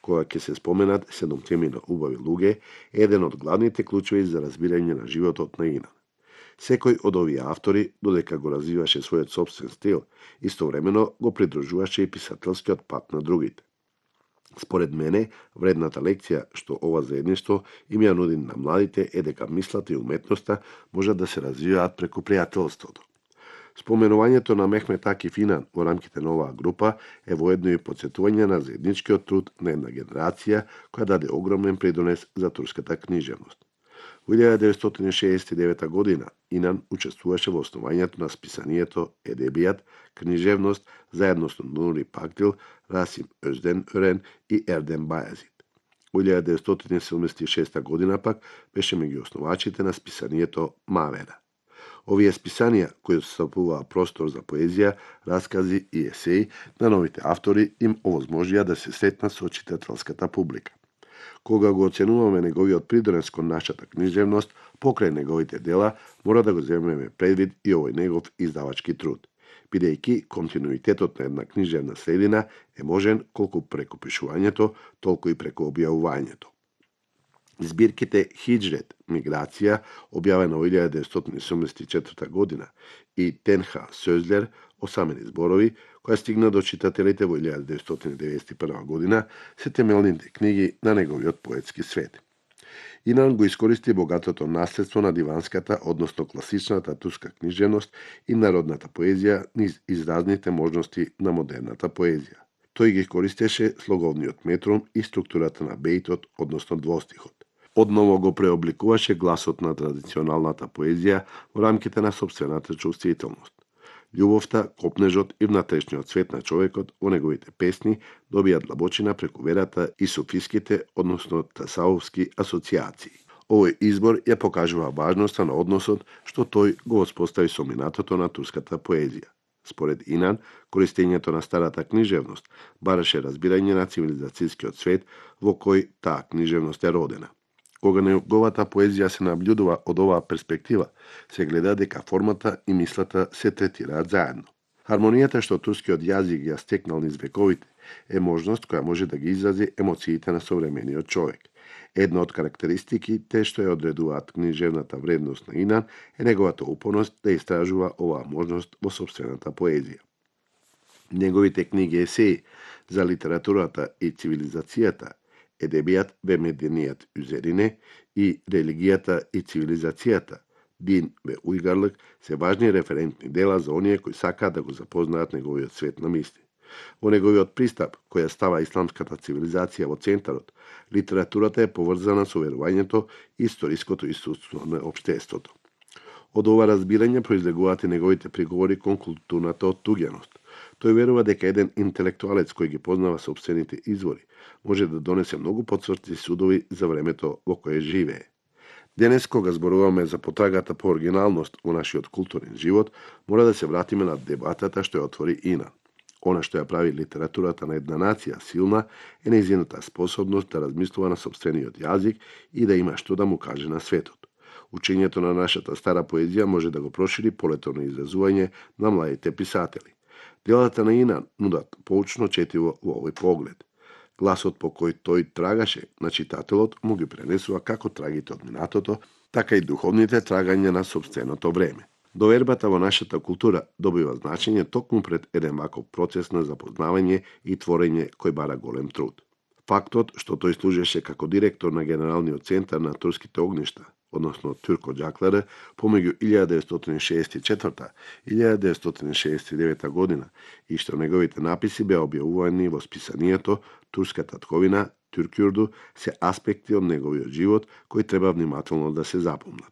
кога ќе се споменат 7 убави луѓе, е еден од главните клучеви за разбирање на животот на Инан. Секој од овие автори, додека го развиваше својот собствен стил, истовремено го придружуваше и писателскиот пат на другите. Според мене, вредната лекција што ова заедништво им ја нуди на младите е дека мислата и уметноста можат да се развиваат преку пријателството. Споменувањето на Мехмет Акиф Инан во рамките на оваа група е воедно и потсетување на заедничкиот труд на една генерација која даде огромен придонес за турската книжевност. Во 1969 година Инан учествуваше во основањето на списанието Едебијат, книжевност, заедно со Нури Пактил, Расим Өзден и Ердем Бајазид. Во 1976 година пак беше меѓу основачите на списанието Мавера. Овие списанија, кои составуваа простор за поезија, раскази и есеи на новите автори, им овозможија да се сретнат со читателската публика. Кога го оценуваме неговиот придонес кон нашата книжевност, покрај неговите дела, мора да го земеме предвид и овој негов издавачки труд, бидејќи континуитетот на една книжевна средина е можен колку преку пишувањето, толку и преку објавувањето. Збирките Хиџрет, миграција, објавена во 1974 година, и Тенха Сөзлер, осамени зборови, која стигна до читателите во 1991 година, се темелните книги на неговиот поетски свет. Инан го искористи богатото наследство на диванската, односно класичната турска книжевност и народната поезија низ изразните можности на модерната поезија. Тој ги користеше слоговниот метрум и структурата на бейтот, односно двостихот. Одново го преобликуваше гласот на традиционалната поезија во рамките на собствената чувствителност. Љубовта, копнежот и внатрешниот свет на човекот во неговите песни добија длабочина преку верата и суфиските, односно тасауфски асоциации. Овој избор ја покажува важноста на односот што тој го воспостави со минатото на турската поезија. Според Инан, користењето на старата книжевност бараше разбирање на цивилизацијскиот свет во кој таа книжевност е родена. Кога неговата поезија се наблюдува од оваа перспектива, се гледа дека формата и мислата се третираат заедно. Хармонијата што турскиот јазик ја стекнал низ вековите е можност која може да ги изрази емоциите на современиот човек. Една од карактеристиките што ја одредуваат книжевната вредност на Инан е неговата упорност да истражува оваа можност во собствената поезија. Неговите книги есеи за литературата и цивилизацијата, Едебијат ве меденијат Üzerine и Религијата и цивилизацијата, Дин ве Уйгарлык, се важни референтни дела за оние кои сакаат да го запознаат неговиот свет на мисли. Во неговиот пристап, која става исламската цивилизација во центарот, литературата е поврзана со верувањето и историското искуство на општеството. Од ова разбирање произлегуваат и неговите приговори кон културната оттуѓеност. Тој верува дека еден интелектуалец кој ги познава собствените извори може да донесе многу потврди судови за времето во кое живее. Денес, кога зборуваме за потрагата по оригиналност во нашиот културен живот, мора да се вратиме на дебатата што ја отвори Инан. Она што ја прави литературата на една нација силна е нејзината способност да размислува на собствениот јазик и да има што да му каже на светот. Учењето на нашата стара поезија може да го прошири полето на изразување на младите писатели. Делата на Инан нудат поучно четиво во овој поглед. Гласот по кој тој трагаше на читателот му ги пренесува како трагите од минатото, така и духовните трагања на собственото време. Довербата во нашата култура добива значење токму пред еден ваков процес на запознавање и творење кој бара голем труд. Фактот што тој служеше како директор на Генералниот центар на турските огништа, односно Турко Џакларе, помеѓу 1964 и 1969 година и што неговите написи беа објавувани во списанието Турската тковина, Туркјурду, се аспекти од неговиот живот кои треба внимателно да се запомнат.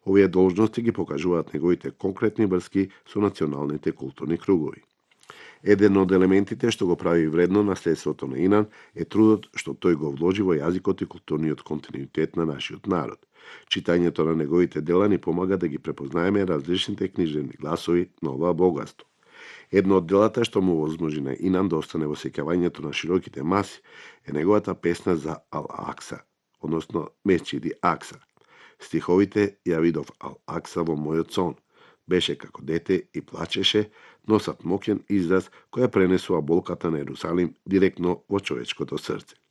Овие должности ги покажуваат неговите конкретни врски со националните културни кругови. Еден од елементите што го прави вредно наследството на Инан е трудот што тој го вложи во јазикот и културниот континуитет на нашиот народ. Читањето на неговите дела ни помага да ги препознаеме различните книжевни гласови на ова богатство. Едно од делата што му возможи на Инан да остане во сеќавањето на широките маси е неговата песна за Ал-Акса, односно Месчиди Акса. Стиховите ја видов Ал-Акса во мојот сон. Беше како дете и плачеше, носат моќен израз која пренесува болката на Ерусалим директно во човечкото срце.